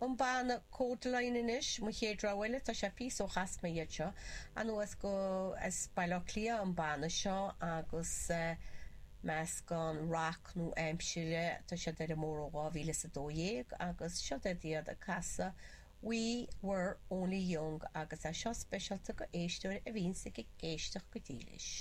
An banna Kodaline anois, mo chéad rogha eile, tá sé píosa ó chas mé iad seo anuas go as Baile Átha Cliath an banna seo agus meascán rac nua-aimsire, tá siad ar an mbóthar ó 2012 agus seo iad iad ag casadh We Were Only Young agus é seo speisialta go éisteoir a bhíonns ag éisteacht go dílis.